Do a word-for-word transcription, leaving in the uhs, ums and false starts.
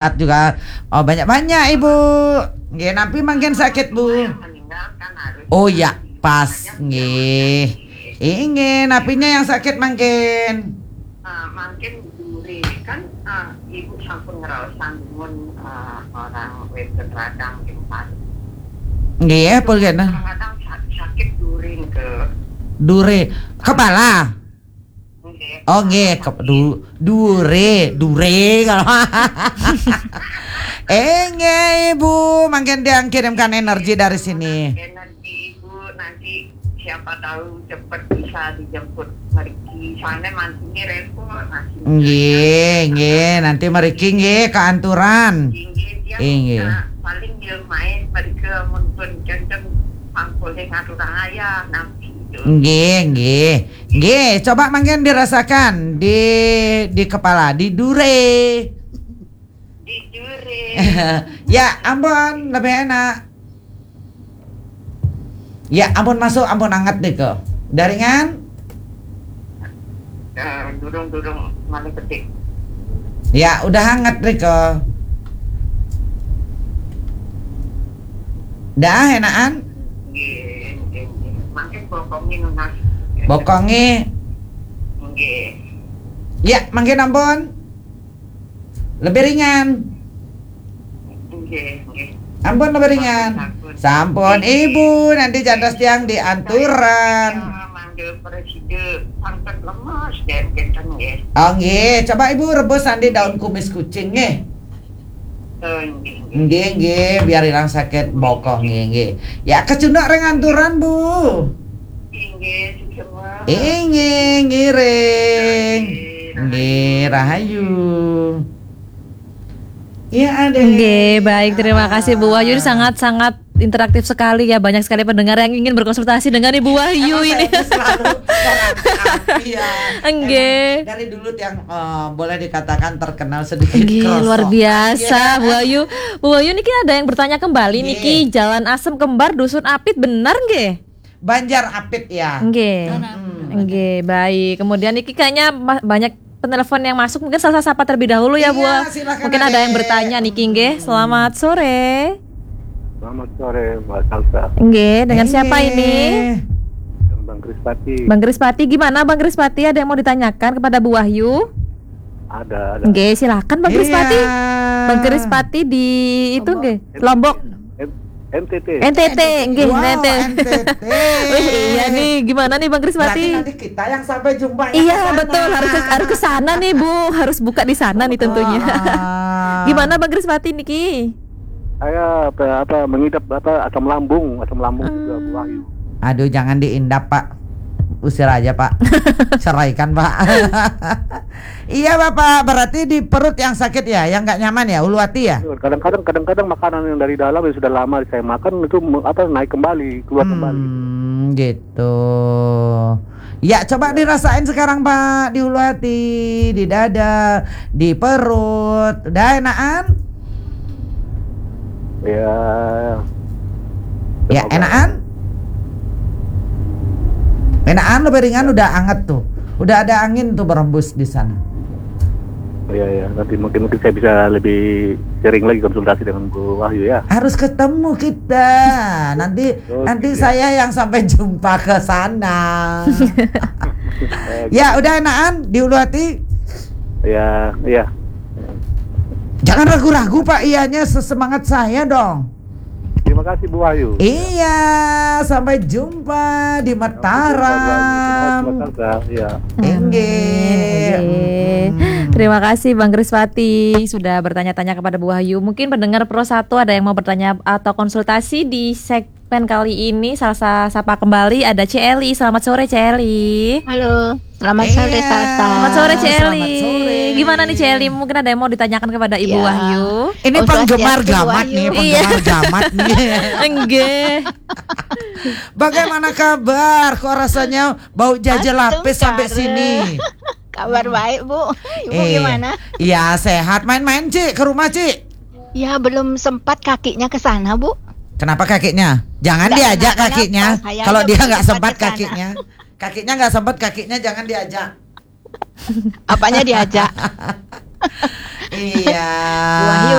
sehat juga. Oh, banyak-banyak, Ibu. Nggih, napi mangkin sakit, Bu? Oh ya, pas nggih. Inggih, napinya yang sakit mangkin? Ah, mangkin duri kan, ah, Ibu sampun ngraosan dumun, ah, orang wénten radang ring paru. Nggih, pun kena. Kadang-kadang sa-, sakit duri ke. Duri. Kepala? Nggih. Oh, nggih, ke, du-, dure, dure kalau. Eh, nggih, Ibu, mangkin tiang kirimkan energi dari sini. Energi Ibu, nanti siapa tahu cepat bisa dijemput mriki. Soalnya mantunya repot, masih. Nggih, nggih, nanti mriki nggih kaanturan. Nggih, dia. Nggih. Paling dia main mriki amun pun kenceng pangkulé ngaturang ayah, nanti itu. Nggih, nggih. Nggih, coba mangkin dirasakan di, di kepala, di dure. Di dure. Ya, ampun, lebih enak. Ya, ampun masuk, ampun anget deh kok. Udah ringan? Eh, durung, durung, malih petik. Ya, udah hangat deh kok. Dah, enakan? Nggih, nggih, nggih. Mangkin bokongé nunas. Bokongé. Nggih. Ya, mangkin ampun. Lebih ringan. Nggih, nggih. Ampun, lebih ringan. Sampun, sampun. Sampun, Ibu, nanti cantos tiang dianturan. Ya, mangga presida sampun lemes, nggih, kinten, nggih. Oh, nggih. Coba Ibu rebus nanti daun kumis kucing, nggih. Oh, nggih, nggih. Nggih, nggih, biar hilang sakit bokong, nggih, nggih. Ya, kecunduk ring anturan, Bu. Inggih, sugeng. Inggih, ngiring. Nggih, rahayu. Iya, ada. Nggih, baik, terima kasih, Bu Wahyu. Ini sangat-sangat interaktif sekali ya, banyak sekali pendengar yang ingin berkonsultasi dengan Ibu Wahyu. Emang ini saya itu selalu merangkap, iya. Nggih. Emang dari dulu yang, eh, boleh dikatakan terkenal sedikit. Nggih, luar biasa, iya. Bu Wahyu. Bu Wahyu, niki ada yang bertanya kembali niki, Jalan Asem Kembar, Dusun Apit, benar nggih? Banjar Apit ya. Nggih. Mm-mm. Nggih, baik. Kemudian niki kayaknya ma-, banyak penelpon yang masuk. Mungkin saya sapa terlebih dahulu ya, Bu. Iya, silakan. Mungkin ada yang bertanya niki, nggih. Selamat sore. Selamat sore, Mbak Salsa. Nggih, dengan siapa ini? Dengan Bang Krispati. Bang Krispati, gimana Bang Krispati? Ada yang mau ditanyakan kepada Bu Wahyu? Ada, ada. Nggih, silakan Bang Krispati. Iya. Bang Krispati di itu nggih, Lombok. M-, M T T. N T T, nggih, wow, N T T. N T T. Wih, iya nih, gimana nih Bang Krispati? Berarti nanti kita yang sampai jumpa ya. Iya, betul, harus ke, harus ke sana nih, Bu, harus buka di sana nih tentunya. Ah. Gimana Bang Krispati niki? Saya apa, apa, mengidap apa, asam lambung, asam lambung juga, Bu Wahyu. Aduh, jangan diindap, Pak. Usir aja, Pak. Ceraikan, Pak. Iya, Bapak, berarti di perut yang sakit ya, yang nggak nyaman ya, ulu hati ya? Kadang-kadang, kadang-kadang makanan yang dari dalam yang sudah lama saya makan itu me-, apa, naik kembali, keluar kembali gitu. Hmm, gitu. Ya, coba dirasain sekarang, Pak, di ulu hati, di dada, di perut. Udah enakan? Ya. Ya, enakan? Enakan, lebih ringan, udah anget tuh. Udah ada angin tuh berembus di sana. Iya, iya. Nanti mungkin, mungkin saya bisa lebih sering lagi konsultasi dengan Bu Wahyu ya. Harus ketemu kita. Nanti, nanti saya yang sampai jumpa ke sana. Oke. Ya, udah enakan di ulu hati? Ya, iya. Jangan ragu-ragu, Pak, iyanya sesemangat saya dong. Terima kasih, Bu Wahyu. Iya, sampai jumpa di Mataram. Sampai jumpa, Bu Wahyu. Terima kasih, Mbak Salsa. Iya. Inggih. Nggih. Mm-mm. Terima kasih Bang Krispati sudah bertanya-tanya kepada Bu Wahyu. Mungkin pendengar Pro satu ada yang mau bertanya atau konsultasi di segmen kali ini. Salsa sapa kembali ada Celi. Selamat sore, Celi. Halo. Selamat sore, Salsa. Iya. Selamat sore, Celi. Selamat sore. Gimana nih, Celi? Mungkin ada yang mau ditanyakan kepada Ibu Wahyu. Ini penggemar gamat nih, penggemar gamat nih. Iya. Nggih. Bagaimana kabar? Kok rasanya bau jaje lapis sampai sini? Kabar baik, Bu. Ibu gimana? Iya, sehat. Main-main, Cik, ke rumah, Cik. Ya, belum sempat kakinya ke sana, Bu. Kenapa kakinya? Jangan diajak kakinya. Kalau dia nggak sempat kakinya. Kakinya nggak sempat, kakinya jangan diajak. Apanya diajak? Iya. Wahyu